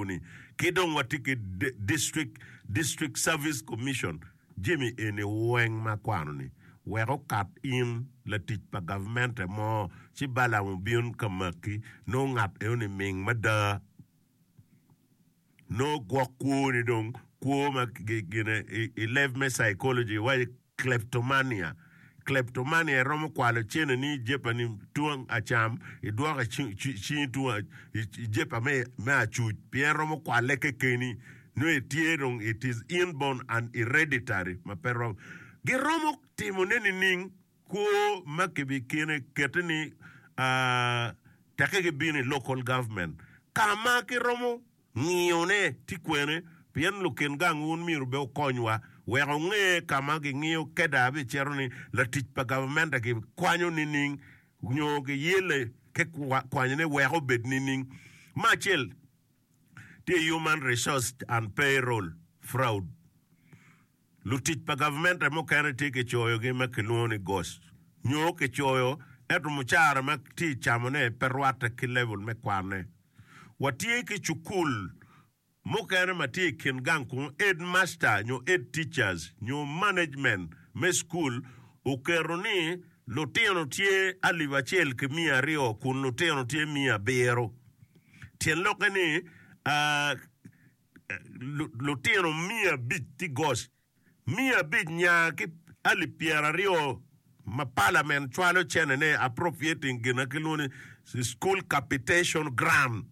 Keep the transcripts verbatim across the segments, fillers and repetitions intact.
lobo-ni. Ki dong watye ki District, District Service Commission. Jami eni weng ma akwano-ni, wek okat in latic pa gavmente mo, ci Balaam obin ka maki, nongo ngat enoni ming mada. Nongo gwok kwoni dong kwo ma gine i leb me psychology iwaco kleptomania. Kleptomania iromo kwalo cene ni i jepa ni tung acam idwoko i cingi tung i jepa me acuc pien romo kwale kekeni nongo itye dong it is inborn and hereditary ma pe romo. Giromo timone nining? Kwo ma kibikine kete ni tekke gibino i local government ka ma kiromo ngiyone tye kwene pien lukin gang wun myero bene wukonywa wek wunge ka ma gingiyo keda bicito ni latic pa gavamente kikwanyo nining nyo giyele ki kwanyone wek obed nining. Me acel tye human resource and payroll fraud. Lutic pa gavmente mukene tye kicoyogi ma kilwongo ni ghost nyo kicoyo ento mucara ma tye i camone pe rwatte ki level me kwanne. Watye ki cukul mukene ma tye i kin gang kunu headmaster nyo head teachers nyo management me cukul oketo ni lutino tye alip acel ki miya aryo kun lutino tye miya abiro. Tyen lokke ni lutino miya abic tye goc, miya abic nya ki alip pyeraryo ma palament cwalo cene-ne appropriating gin ma kilwongo ni school capitation grant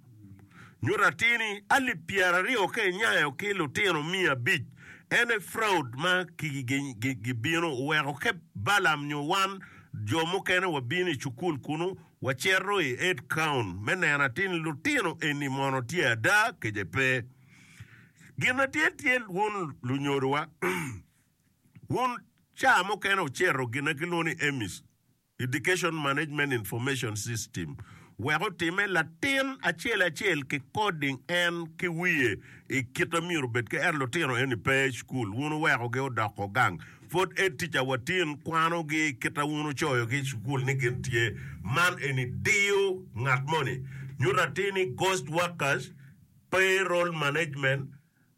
nyuto atir ni alip pyeraryo ka inyayo ki lutino miya abic en aye fraud ma gibino oweko ka Balaam nyo wan jo mukene wabino i cukul kunu Wacito i head count me neno atir ni lutino eni mono tye ada kece pe. Gin ma tye tye wun lunyodowa, wun ca mukene wucito gin ma kilwongo ni EMIS, Education Management Information System, wek otime latin acel acel ki coding en ki wiye i kite myero obed ki ento lutino eni pe i cukul wun wuwekogi odoko gang. Pwod ed tic a watin kwano gi kita wun ocoyo ki i cukul ni gin tye. Man eni diyo ngat moni. Nyuto atir ni ghost workers, payroll management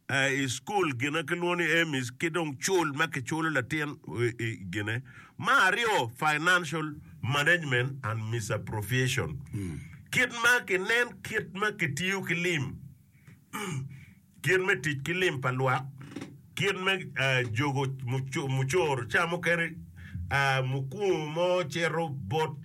i cukul gina ki lwongo ni EMIS ki dong cul ma ki culo latin i gine. Ma aryo financial management and misappropriation. Kit ma ki nen kit ma ki tiyo ki lim. Kit me tic ki lim pa lwak, kit me jogo mucoro, ca mukene mukwongo mo cito bot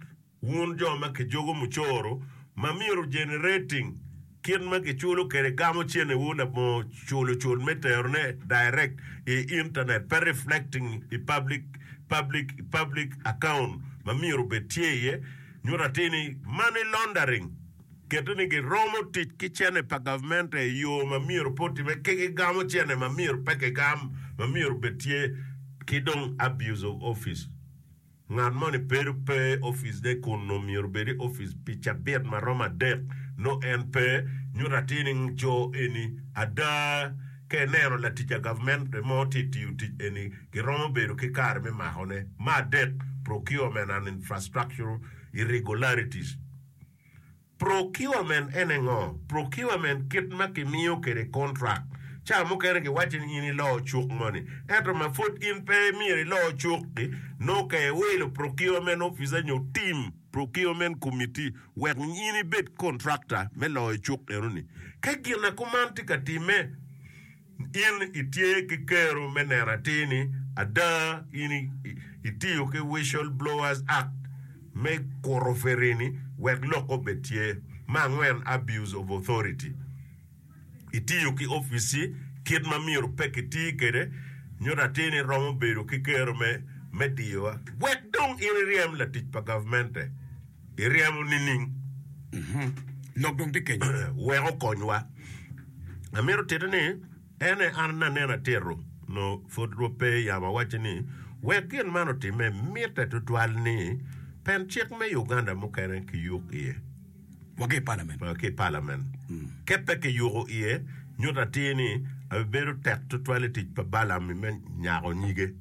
wun jo ma kijogo mucoro ma myero generating kit ma kiculo kwede gamo cenewu labongo culo cul me terone direct i internet pe reflecting i public public public account ma myero obed tye iye nyuto atir ni money laundering Kete ni giromo tic ki cene pa gavmente i yo ma myero pe otime ki gigamo cene ma myero pe kigam ma myero obed tye ki dong abuse of office. Ngat moni bedo pe i office ne kun nongo myero obed i office pi cabit ma romo adek nongo en pe, nyuto atir ni jo eni ada ka ineno latic a gavmente mo tye tiyo tic eni giromo bedo ki kare me mako ne. Me adek, procurement and infrastructural irregularities. Procurement ene ngo? Procurement kit ma kimiyo kwede contract. Ca mukene giwacci ni in ilo cuk moni, ento ma pwod in pe myero ilo cuk-ki, nongo ka iwilo procurement officer nyo team procurement committee wek in ibed contractor me loyo cuk enoni. Ka gin akuman tye ka timme, In itye ki kero me neno atir ni ada in itiyo ki Whistle Blowers Act me kuto ferini wek lok obed tye. Me angwen, Abuse of Authority. Itiyo ki opici kit ma myero pe kiti kwede nyuto atir ni romo bedo ki kero me me diyowa. Wek dong in iryem latic pa gavmente, iryemo nining? Lok dong tye kenyo. Wek okonywa. Amito tite ni, en aye an aneno atito, nongo pud rwot pe yam awacce ni, wek gin man otimme, mitte tutwal ni pen cik me Uganda mukene kiyuk iye. Wa ki i palament. Wa ki i palament. Ka pe kiyuko iye, nyuto atir ni abibedo tek tutwal i tic pa Balaam-mi me nyako nyige.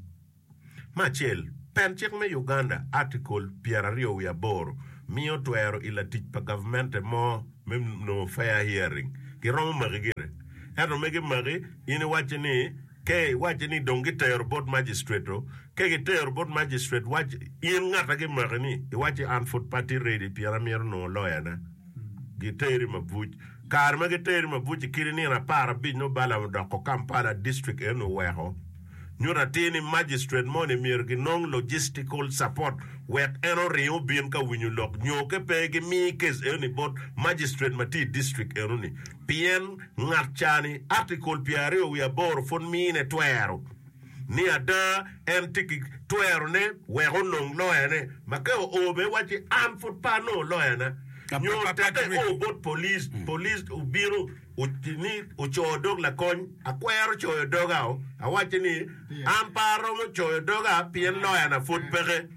Me acel, Pen cik me Uganda, Article pyeraryo wiye aboro, miyo twero i latic pa gavmente mo me nongo fair hearing. Giromo maki gire. Ento me gimaki, in iwacce ni, ke iwacce ni dong gitero bot magistrate-o, ke gitero bot magistrate, wac in ngat a gimaki ni, iwacci an pud pe atye ready pien amito nongo lawyer-na. Giteri mabuc. Kare ma giteri mabuc i kidi nino apar abic nongo Balaam odoko Kampala district eno oweko. Nyuto atir ni magistrate moni myero ginong logistical support wek en oring obin ka winyo lok nyo ke pe gimi case enoni bot magistrate ma tye i district enoni pien ngat ca ni article pyeraryo wiye aboro pud mine twero ni ada en tye ki twero ne wek onong lawyer ne ma ka oo bene wacci an pud pe anongo lawyer na nyo teke o bot police police obino ni ocoyo dog lakony, akwero coyo doga-o, awacce ni, An pe aromo coyo doga pien loyana pud peke.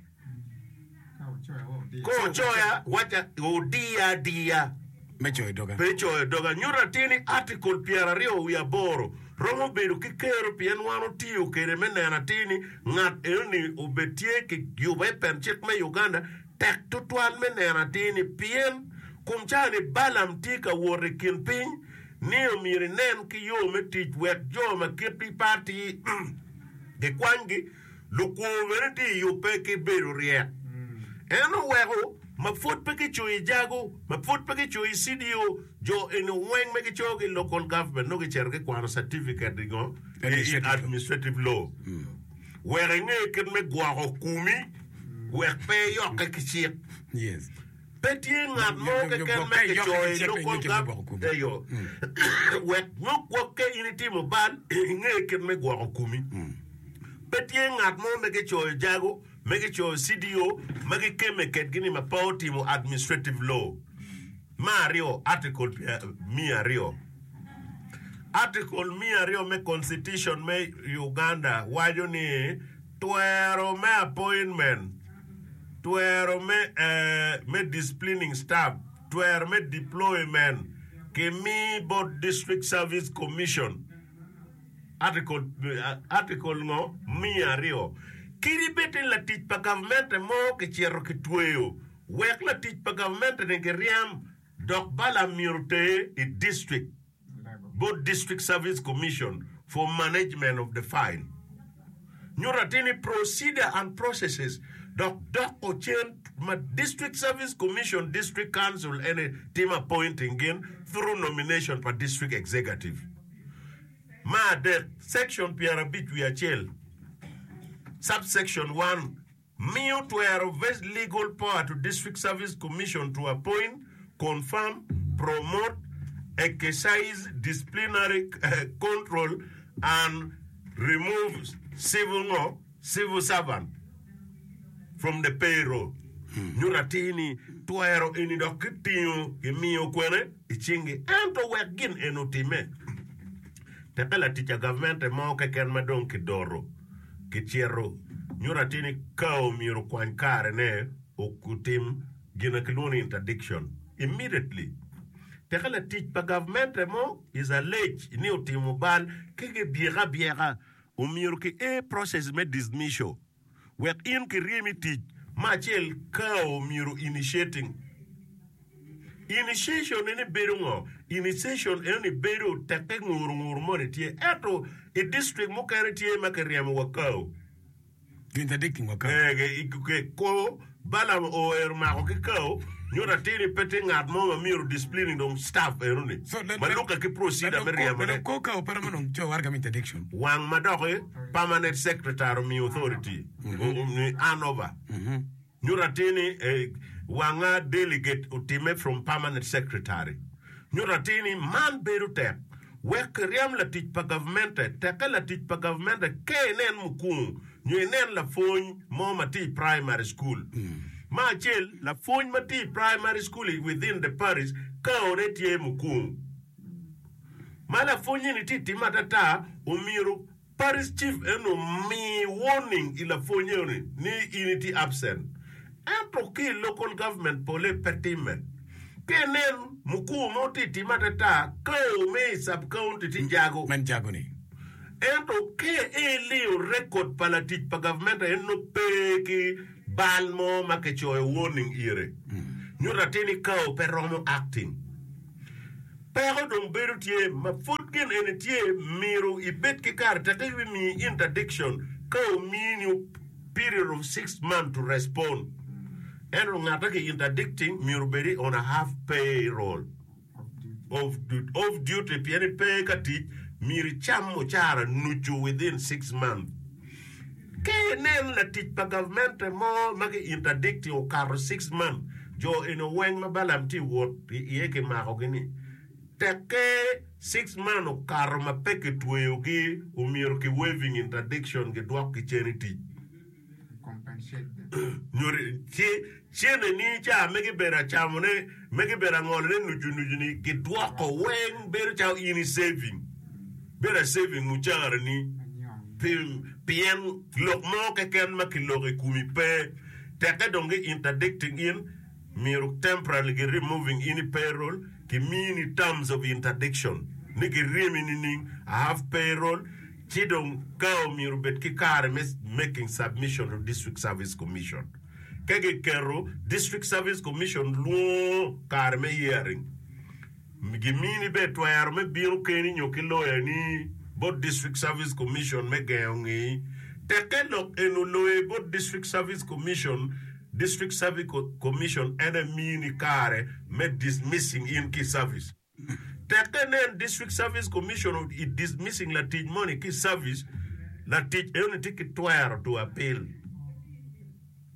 Ka ocoya, wacca odiya adiya Me coyo doga. pe coyo doga. Nyuto atir ni Article pyeraryo wiye aboro romo bedo ki kero pien wan otiyo kwede me neno atir ni ngat enoni obed tye ki yuba i pen cik me Uganda Tek tutwal me neno atir ni pien kom cawa-ni Balaam tye ka wot i kin piny ni omyero inen ki yo me tic wek jo ma kitgi pe atir gikwanygi, lukwor bene tye i yubbe ki bedo ryek. En oweko ma pwod pe gicoyo i jago, ma pwod pe gicoyo i C D O, jo eni weng ma gicoyogi i local government nongo gicito gikwano certificate i ngo? I administrative law. Wek inge kit me gwoko komi wek pe iyokke ki cik. Pe tye ngat mo keken ma kicoyo i local government eyo wek nyo gwok ka in itimo bal inge kit me gwoko komi. Pe tye ngat mo ma kicoyo jago, ma kicoyo C D O ma gikemme kedgi ni ma pe otimo administrative law. Me aryo, Article miya aryo. Article miya aryo me Constitution me Uganda waco ni twero me appointment, twero me me disciplining staff, twero me deployment kimi bot District Service Commission. Article Article ngo miya aryo. Kadi bed ni latic pa gavmente mo kicito kitweyo wek latic pa gavmente-ni giryam dok Balaam myero oter i district bot District Service Commission for management of the file. Nyuto atir ni procedure and processes dok doko cen ma District Service Commission, District Council ene timo appointing gin through nomination pa District Executive. Me adek, Section pyerabic wiye acel, subsection one, miyo twero vest legal power to District Service Commission to appoint, confirm, promote, exercise disciplinary control and remove civil ngo civil servant from the payroll. Nyuto atir ni twero eni dok kitingo kimiyo kwene i cingi ento wek gin eni otimme teke latic a gavmente mo keken ma dong kidoro Kicito, nyuto atir ni ka omyero okwany karene otim gin ma kilwongo ni interdiction immediately. Teke latic pa gavmente mo is alleged ni otimo bal ki gibyeke abyeka, omyero ki a process me dismissal wek in kiryemi i tic. Me acel ka omyero initiating. Initiation eni bedo ngo? Initiation enoni bedo tekke nguru nguru moni tye ento i district mukene tye ma kiryemo wa kao. Interdicting wa kao. Eh, ko Balaam oero mako ki kao nyuto atir ni pe tye ngat mo ma myero disciplining dong staff enoni So, ma lukke ki procedure me ryemo ne. Ko kao pe romo dong coyo waraga me interdiction. Wang ma doki permanent secretary omiyo authority ni hand over. Nyuto atir ni wanga delegate otimme from permanent secretary. Nyuto atir ni man bedo tek wek kiryem latic pa gavmente tekke latic pa gavmente ka inen mukungu nyo inen lapwony mo ma tye i primary school. Me acel lapwony ma tye i primary school i within the parish kaone tye mukungu. Ma lapwonye ni tye time atata omyero Parish Chief eno omi warning i lapwony eno ni in itye absent. Ento ki i local government pole pe time. Ka inen mukur mo tye time atata ka ome i sub county tye jago. Men jago ni. Ento ka iliyo record pa latic pa government en nongo pe ki bal mo ma kicoyo warning ire. Nyuto atir ni kao pe romo acting. Peko dong bedo tye ma pud gin eni tye myero ibed ki kare tekke gibimiyi interdiction ka omini period of six months to respond. Ento ngat ma ki interdicting myero obed i on a half pay roll of off duty pien ipe ka tic myero icam mucara nucu within six months. Ka inen latic pa gavmente mo ma ki interdicting okato six months, jo eni weng ma Balaam tye wot iye kimakogi ni tekke six months okato ma pe kitweyogi omyero ki waiving interdiction gidwokgi cen i tic. Nyo ci cene ni ca me gibedo acamone me gibedo angolone nucu nucu ni gidwoko weng bedo calo in i saving bedo a saving mucara ni pien lok mo keken ma kiloko i komi pe tekke dong gi interdicting in myero temporarily gi removing in i payroll ki mini terms of interdiction ni giryemi nining a half payroll ci dong ka omyero obed ki kare me making submission to District Service Commission. Ka giketo District Service Commission lwongo kare me hearing, gimini bene twero me bino keni nyo ki lawyer ni bot District Service Commission me gengo ngeyi. Tekke lok eni oloye bot District Service Commission, District Service Commission en aye mini kare me dismissing in ki i service. Tekke nen District Service Commission i dismissing latic moni ki i service, latic enoni tye ki twero to appeal.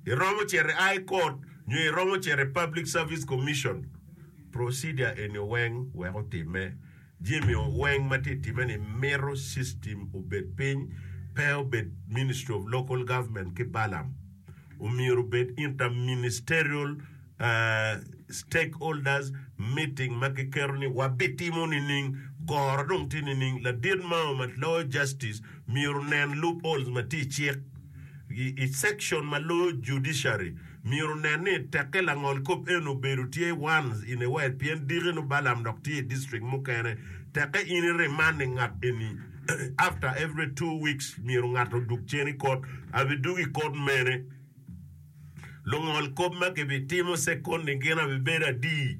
Iromo cito i High Court nyo iromo cito i Public Service Commission. Procedure eni weng wek otimme. Jami weng ma tye time ni mito system obed piny, pe obed Ministry of Local Government ki Balaam. Omyero obed inter-ministerial stakeholders meeting ma kiketo ni wabitimo nining, goro dong tye nining, ladit mao ma loyo justice myero onen loopholes ma tye i cik i section ma loyo judiciary myero onen ni tekke langol kop eni obedo tye once in a while pien diki nongo Balaam dok tye i district mukene tekke in i remand ngat eni after every two weeks myero ngat odug cen i court abidugo i court mene Lungol kop ma gibitimo second-ni gin abibedo adi?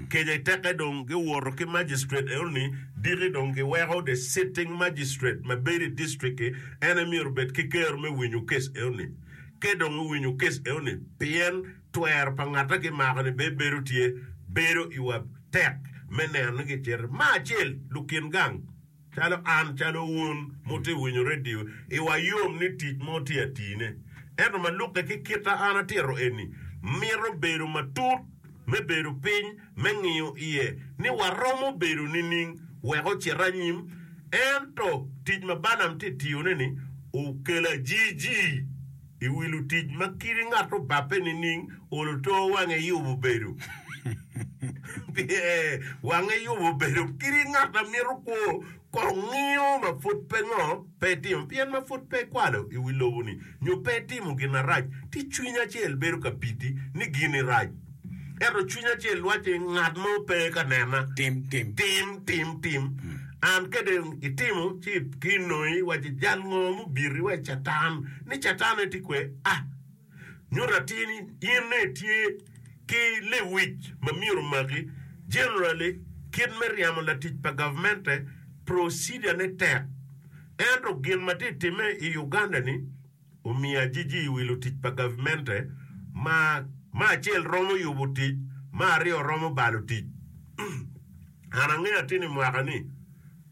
Keca itekke dong giwoto ki magistrate enoni, diki dong giweko the sitting magistrate ma bedo i district-ki en aye myero obed ki kero me winyo case enoni. Ka dong owinyo case enoni, pien twero pa ngat ma kimako-ni bene bedo tye, bedo iwa tek me neno ni gicito. Me acel, lukin gang. Calo an, calo wun mutye winyo redio, iwa yom ni tic mo tye atine. Ento ma lukke ki kita an atito eni, mito bedo matut me bedo piny me ngiyo iye ni waromo bedo nining wek ocit anyim. Ento tic ma Balaam tye tiyone ni okelo ajiji i wi lutic ma kadi ngat obabbe nining olo to wange yubo bedo. Wange yubo obedo kadi ngat ma mito kwo kong ngiyo ma pud pe ngo pe etimo pien ma pud pe ekwalo i wi lobo-ni nyo pe etimo gin marac ci cwiny acel bedo ka pidi ni gin-ni rac ento cwiny acel wacci ngat mo pe ka nena Tim, tim. tim tim tim an ka dong itimo ci kinongi wacci jal ngo mubiti wa catan ni catan aye tye kwe ah Nyuto atir ni in nongo itye ki lewic ma myero omaki. Generally, kit me ryemo latic pa gavmente, procedure ne tek. Ento gin ma tye timme i Uganda ni, omiyo ajiji i wi lutic pa gavmente ma me acel romo yubo tic, me aryo romo balo tic. An angeyo atir ni mwaka ni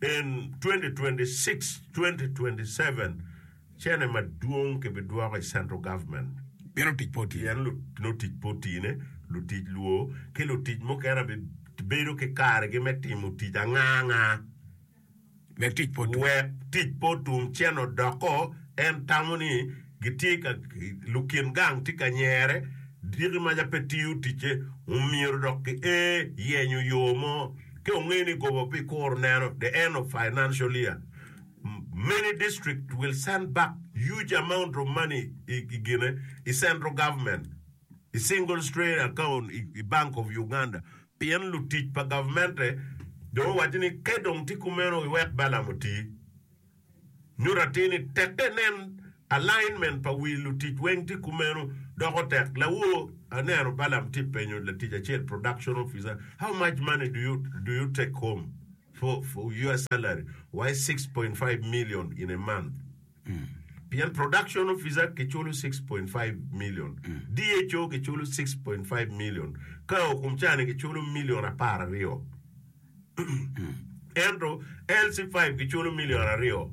in twenty twenty six twenty twenty seven, Cene madwong kibidwoko i central government. Pien otic pe otine. Pien lutic pe otine, lutic lwor, ki lutic mukene bibedo ki karegi me timo tic anga anga. Wek tic pe otum. Wek tic pe otum, cene odoko, en tamo ni gitye ka, lukin gang tye ka nyere, diki maca pe tiyo ticce, omyero dok ki ee yenyo yo mo. Ka ongeyo ni goba bikuro neno the end of financial year. Many district will send back huge amount of money i gine i central government i single straight account i bank of Uganda pien lutic pa gavmente dong owaco ni ka dong tye kumeno iwek Balaam oti. Nyuto atir ni tekke nen alignment pa wi lutic weng tye kumeno Doko tek lawo aneno Balaam tye penyo latic acel production officer how much money do you do you take home for for your salary why six point five million in a month pien production officer kiculo six point five million D H O kiculo six point five million ka okum cani kiculo million apar aryo ento L C five kiculo million aryo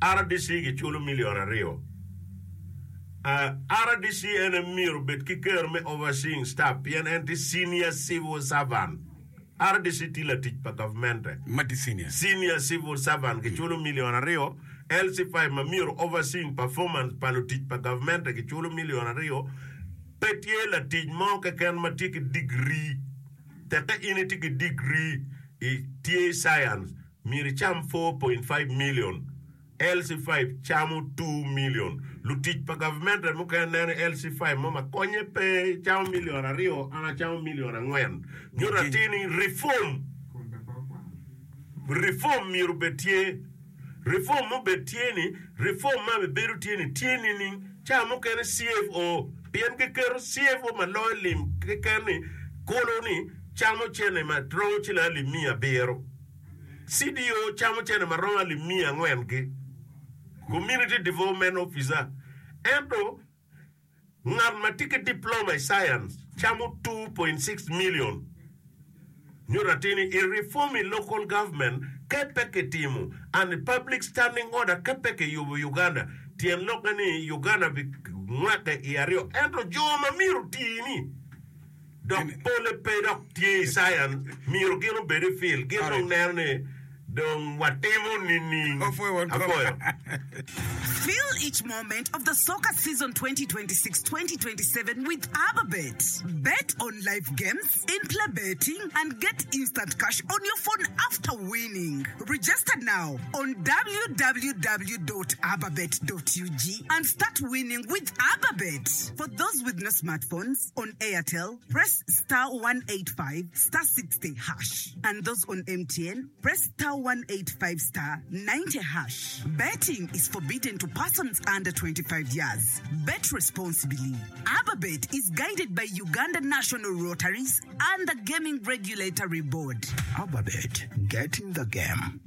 R D C kiculo million aryo. Uh, R D C en myero obed ki kero me overseeing staff pien en tye senior civil servant. R D C tye latic pa gavmente. Ma tye senior. Senior civil servant kiculo million aryo. L C five ma myero overseeing performance pa lutic pa gavmente kiculo million aryo. Pe tye latic mo keken ma tye ki degree teke in itye ki degree i tye science myero icam four point five million. L C five camo two million. Lutic pa gavmente mukene neno L C five mo ma konye pe camo million aryo an acamo million angwen. Nyuto atir ni reform reform myero obed tye reform mobed tye ni reform ma bibedo tye ni tye nining ca mukene C F O pien giketo C F O ma loyo lim keken ni kolo ni camo cene ma romo ciling alip miya abiro C D O camo cene ma romo alip miya angwen ki community development officer ento ngat ma tye ki diploma i science camo two point six million. Nyuto atir ni i reform i local government ke pe kitimo and public standing order ke pe kiyubo Uganda tyen lokke ni Uganda bi ngweke i aryo ento jo ma myero oti ni dok pole pe dok tye i science myero gin obed i field gin dong neno ni dong watimo nining. Opwoyo won kom. Apwoyo. Feel each moment of the soccer season twenty twenty-six twenty twenty-seven with Ababet. Bet on live games, in-play betting, and get instant cash on your phone after winning. Register now on w w w dot ababet dot u g and start winning with Ababet. For those with no smartphones, on Airtel, press star one eight five star sixty hash. And those on M T N, press star one eight five star ninety hash. Betting is forbidden to persons under twenty-five years. Bet responsibly. Ababet is guided by Uganda National Rotaries and the Gaming Regulatory Board. Ababet, get in the game.